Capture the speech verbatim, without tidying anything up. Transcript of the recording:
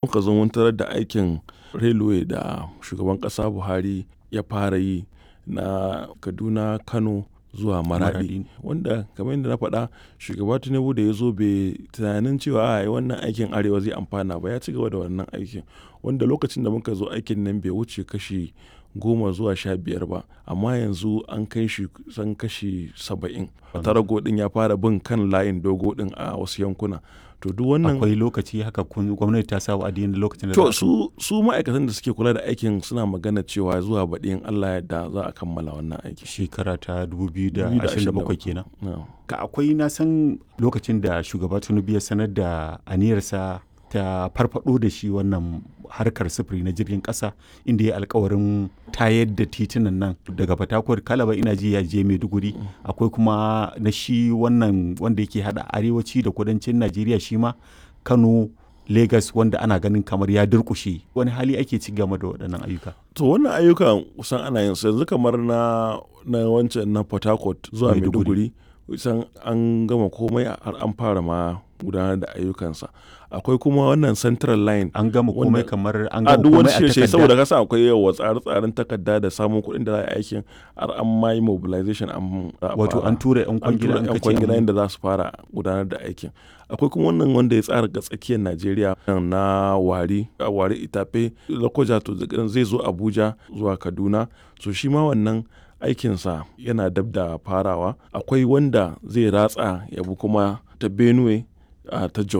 Muka zo mun tarar da aikin railway da shugaban ƙasa Buhari ya fara yi na Kaduna, Kano zuwa Maradi. Wanda kamar yadda na faɗa, shugaba Tinubu da ya zo bai tunanin cewa ai wannan aikin Arewa zai amfana ba, ya ci gaba da wannan aikin. Wanda lokacin da muka zo aikin nan bai wuce kashi goma zuwa sha biyar ba, amma yanzu an kai shi kusan kashi saba'in. Tarago ɗin ya fara bin kan layin dogo ɗin a wasu yankuna. To duk wannan Akwai lokaci haka kun gwamnati ta sa wa'adi na lokacin da To za a su, su ma'aikatan da suke kula da aikin suna magana cewa zuwa baɗi in Allah ya yarda za a kammala wannan aiki. Shekara ta dubu biyu da ashirin da bakwai kenan. Na'am. Ka akwai na san lokacin da shugaba Tinubu ya sanar da aniyarsa ta farfado da shi wannan harkar sufuri na jirgin ƙasa, inda ya alkawarin tayar da titunan nan daga Fatakwal Kalaba ina ji ya je Maiduguri. Akwai kuma na shi wannan wanda yake haɗa arewaci da kudancin Najeriya, shi ma Kano Lagos, wanda ana ganin kamar ya durƙushe. Wani hali ake ci game da waɗannan ayyuka? To wannan ayyukan kusan ana yin su yanzu, kamar na, na wancan na Port Harcourt zuwa Maiduguri. Maiduguri, kusan an gama komai har an fara ma gudanar da ayyukansa. Akwai kuma wannan Central Line. An gama komai wanda- kamar an a gama duk wani komai a shirye takarda? Saboda kasa akwai yawa tsare-tsaren takarda da samun kuɗin da za a yi aikin, har an ma yi mobilization an za a Wato fara. an tura 'yan An kwangila, tura an 'yan kace kwangila an yadda za su fara gudanar da aikin. Akwai kuma wannan wanda ya tsara ga tsakiyar Najeriya na Warri, Warri Itafe, Lokoja, to zai zo Abuja zuwa Kaduna. So shi ma wannan aikinsa yana dab da farawa. Akwai wanda zai ratsa ya bi kuma ta Benue, a ta Jos.